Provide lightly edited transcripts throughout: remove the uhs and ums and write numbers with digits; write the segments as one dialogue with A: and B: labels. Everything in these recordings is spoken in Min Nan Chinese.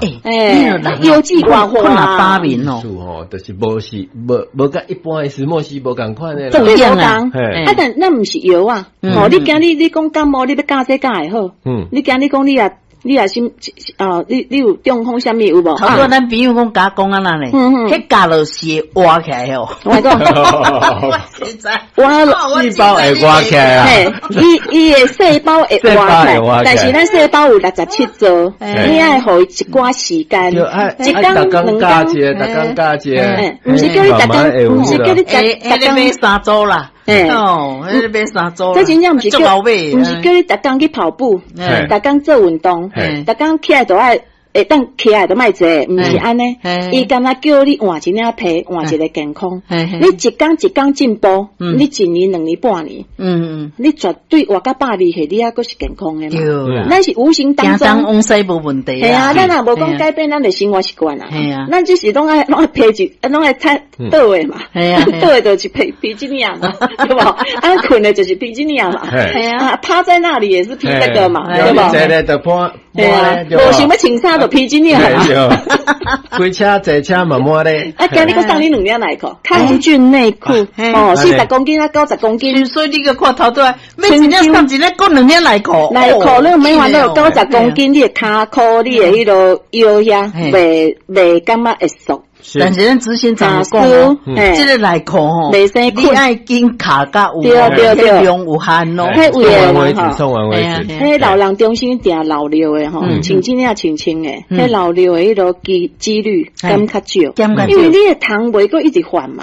A: 欸，
B: 腰子偌
A: 困啊，八面哦，
C: 是吼，就是無是無無佮一般的石墨烯無仝款的，
B: 對，無仝。啊，但那毋是藥啊，哦，你今日你講感冒，你欲教這教會好，你今日講你啊。你也是啊？你有中風啥物有無？
A: 頭拄咱朋友講共講按呢咧，彼咬落是會活起來哦。
B: 我講，
C: 活細胞會活起來啊！
B: 伊伊的細胞會活起來，但是咱細胞有67兆，你愛予伊一寡時間，
C: 一工兩工，逐工加一個，
B: 毋是叫你逐工，毋是叫你逐逐工
A: 買3組啦。哦，彼個買3組。
B: 這真正毋是叫，毋是叫你逐工去跑步，逐工做運動，逐工起來都愛會當起來都莫坐，毋是按呢。伊敢若叫你換一領皮，換一个健康。你一工一工進步，你一年、2年、半年，你絕對活到102歲，你猶閣是健康的嘛。咱是無形當中，
A: 往西無問題。
B: 係啊，咱也無講改變咱的生活習慣啊。咱只是攏愛攏愛披一，攏愛踢倒的嘛。倒的就是披披這領嘛，對無？啊，睏的就是披這領嘛。係啊，趴在那裡也是披這個嘛，對無？
C: 坐咧就披，
B: 對啊，無想欲穿衫就披這領嘛。
C: 開車坐車嘛抹咧。
B: 啊，今日閣送你兩領內褲，抗菌內褲，哦，40公斤啊，90公斤。
A: 所以你閣看頭拄仔，欲一領送一領，閣兩領內褲。
B: 內褲你免煩惱，九十公斤，你的跤褲，你的彼個腰遐，袂袂感覺會縮。
A: 但是咱執行長講哦，這個內褲吼，你愛緊卡甲有，量有限哦。
B: 彼有的人吼，彼老人中心定漏尿的吼，穿這領穿穿的，彼漏尿的彼個機率減較少，因為你的痰袂閣一直發嘛，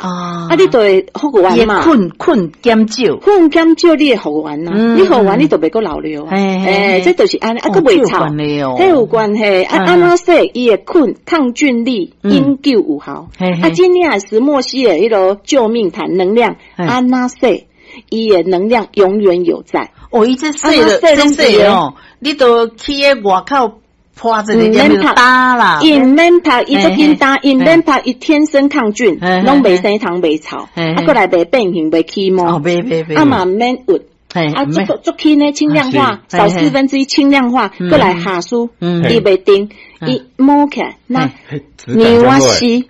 B: 啊，你就會復原嘛。
A: 睏睏減少，
B: 睏減少，你會復原啊，你復原你就袂閣漏尿。欸，這就是按呢，啊，閣袂臭，彼有關係。啊，按怎洗，伊的菌抗菌力永久有效。啊，這領石墨烯的彼個救命毯能量，按怎洗，伊的能量永遠有在。
A: 哦，伊這洗了，這洗哦，你都去彼外口潑一个，免打啦，
B: 伊毋免拍，伊足緊打，伊毋免拍，伊天生抗菌，攏袂生蟲袂臭，啊，閣來袂變形袂起毛，啊嘛毋免鬱。啊，足足輕的輕量化，少1/4輕量化，閣來下舒，伊袂定，伊摸起來那牛仔絲，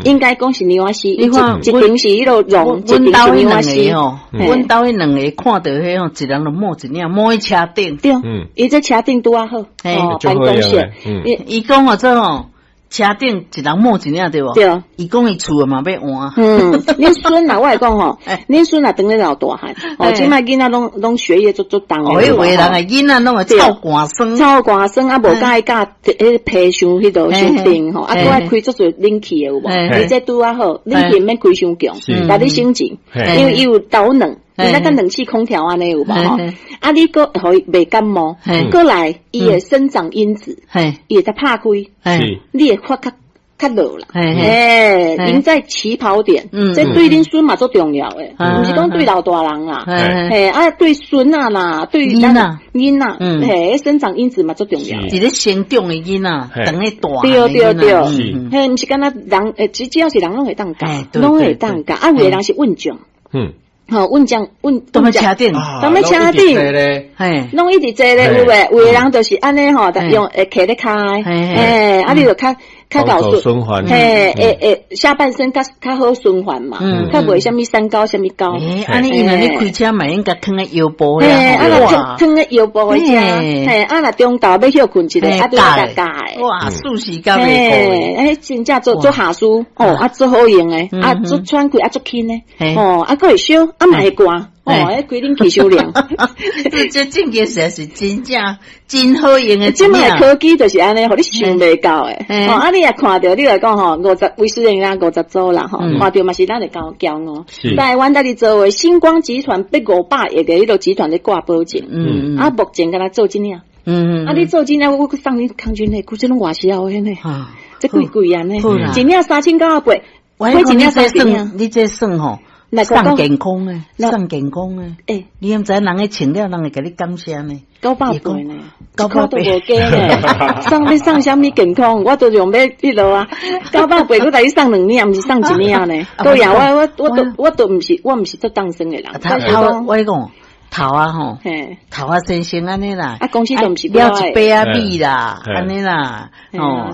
B: 應該講是牛仔絲，一一邊是彼個絨，一邊是牛仔絲。
A: 阮兜彼兩个看著彼吼，一人就摸一領，摸佇車頂。
B: 對，伊這車頂拄仔好，哦，辦公室。
A: 伊講哦，這吼。車頂一人摸一領對無？
B: 對。
A: 伊講伊厝嘛欲換。
B: 嗯，恁孫啊，我會講吼，恁孫啊，當咧老大漢，哦，這擺囡仔攏攏學業足足重。
A: 哦，彼有的人的囡仔攏會臭寒酸。
B: 臭寒酸啊，無佮意教彼皮傷彼度傷冰吼，啊，閣愛開足濟冷氣的有無？你這拄仔好，冷氣毋免開傷強，共你省錢，因為伊有導冷。你那個冷氣空調按呢有無吼？啊，你閣予伊袂感冒，閣來伊的生長因子，伊會才拍開，你會發較較落啦。欸，贏在起跑點，這對恁孫嘛足重要的，毋是講對老大人啦，嘿啊，對孫仔啦，對囡仔，囡仔，嘿，生長因子嘛足重要。
A: 一个成長的囡仔，當咧大。
B: 對對對，嘿，毋是干焦人，欸，只要是人攏會當教，攏會當教，啊，有的人是運將。吼，運將運，
A: 踮咧車頂，
B: 踮咧車頂，
A: 嘿，
B: 攏一直坐咧，有無？有的人就是按呢吼，用會徛咧跤的，嘿，啊，你就較較夠
C: 循環，
B: 嘿，會會下半身較較好循環嘛，較袂啥物三高啥物高。
A: 欸，按呢伊若咧開車嘛應該囥咧腰部遐，
B: 嘿，啊若囥囥咧腰部遐，嘿，啊若中晝欲歇睏一下，啊拄共咬的。
A: 哇，舒適甲袂
B: 過。欸，真正做做下舒，哦，啊足好用的，啊足喘氣，啊足輕的，哦，啊閣會燒，啊嘛會寒，哦，彼開冷氣傷涼。
A: 這這件事是真正真好用的。
B: 這擺科技就是按呢，予你想袂到的。哦，啊你若看著，你來講吼，50威斯汀啊，50組啦吼，看著嘛是咱的驕驕傲。台灣在佇做的星光集團欲500億的彼個集團咧掛保證。啊，目前敢若做這領。啊，你做這領，我閣送你抗菌內褲，這攏外銷的呢。這貴貴啊呢，一領3998，
A: 我一領三千，你這算吼？送健康的，送健康的。
B: 欸，
A: 你毋知人咧穿了，人會共你感謝呢？980
B: 呢，900都無加呢。送欲送啥物健康？我都用欲彼落啊。九百八，閣共你送兩領，毋是送一領呢。對呀，我我我都我都毋是，我毋是做當生的人。
A: 頭我講頭啊吼，頭啊先生按呢啦。
B: 啊，公司都毋是
A: 了一杯仔米啦，按呢啦，哦。